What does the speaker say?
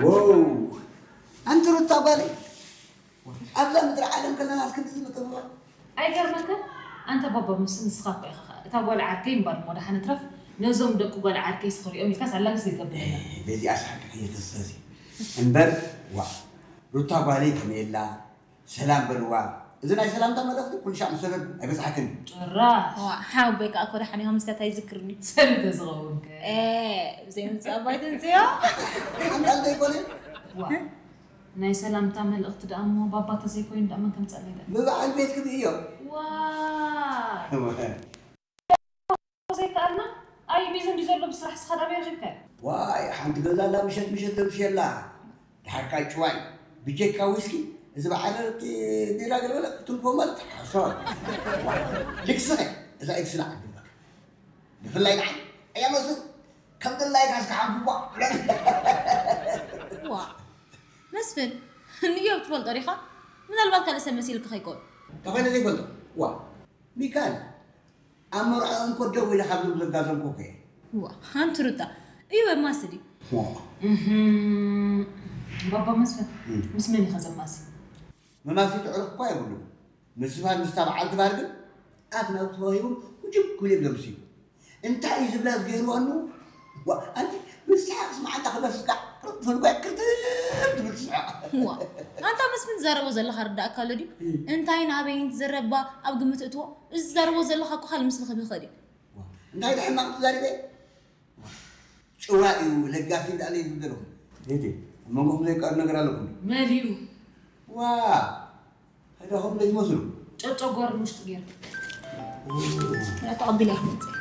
ወው ኣንቲ ሩታ ጓለይ ኣብዛ ምድሪ ዓለም ከለና እስክንድዚ ምጥብባ ኣይገርመክን? ኣንተ ባባ ምስ ንስኻ እኮ ኢኻ እታ ጓል ዓርከይ እምበር እሞ ደሓን እትረፍ ነዞም ደቂ ጓል ዓርከይ ስኽሪኦም ኢልካስ ኣላግስ ዘይገብረና። በዚኣ ስሓቂ ከየተሰዚ እምበር ዋ ሩታ ጓለይ ከመየላ ሰላም በልዋ። እዚ ናይ ሰላምታ መልእኽቲ ኩሉ ሻዕ ምስ ሰደድኩ ኣይበፅሓክን። ጭራሽ ዋ ሓወይ ከዓ እኮ ደሓን ኢኻ ምስታት ኣይዝክርኒ ሰልተ ዝኸውን ከ ብዘይ ምምፃእ ኣባይ ተንፅዮ ሓንጣል ዘይኮነ ዋ ናይ ሰላምታ መልእኽቲ ደኣ እሞ ባባ ተዘይኮይኑ ደኣ መን ከምፀለይ ደኣ ብበዓል ቤት ክብእዮ ዋ ዘይከኣልና ኣይ ቢዚ እንዲ ዘሎ ብስራሕ ስኻ ዳበይ ረኺብካዮ ዋይ ሓንቲ ገዛ ኣላ ምሸት ምሸት ተምሽየላ ድሓርካ ጭዋይ ብጀካ ዊስኪ እዚ በዓል ቢራ ገለበለ ክትንኮ ማለት ሓሶ ልክስኸ እዛ ኢድ ስላዕ ግበክ ብፍላይ ንዓይ ኣያ መስል ከም ድላይካ እስካ ሓንፍቧ ዋ መስፍን ንዮብ ትፈልጦ ዲኻ ምናልባት ካልእ ሰብ መሲልካ ከይኮን ተኾይነ ዘይፈልጦ ዋ ሚካል ኣብ መርዖ እንኮ ደው ኢለ ካብ ዝብሉ ዘጋዘምኩ እኮ እየ። እዋ፣ ሓንቲ ሩታ እዩ መማስል እዩ። ዋ፣ ባባ መስፍን ምስ መን ኢኻ ዘማሲ? መማሲ ትዕርፍ እኳ የብሉን። ምስ ዝባን ምስታ በዓልቲ ባር ግን ኣፍ ናብ ተዋሂቦም ውጅብ ክብል እዮም ዘምስዩ። እንታይ እዩ ዝብላ ዝገይርዋ እሞ ዋ ኣንቲ ብስሓቅ ስማዓና ክበስካ ፈልጓ ክርትር ትብል ትስሕቅ ዋ ኣንታ መስፍን ትዛረቦ ዘለኻ ርዳእካ ኣሎ ድዩ እንታይ ናበይን ትዘረባ ኣብ ግምት እትዎ እዚ ትዛረቦ ዘለኻ እኮ ካልእ ምስሊ ክብ ይኽእል እዩ እንታይ ድሕማቕ ትዛሪበ ጭዋ እዩ ለጋሲ እንዳለ ይብል ዘለኹ ቤቴ ኣብ መንጎኹም ዘይቀር ነገር ኣለኩም መን እዩ ዋ ሄዳኹም ዘይትመስሉ ጨጨጓር ውሽጢ ገይሩ ተቐቢላ ይመፅእ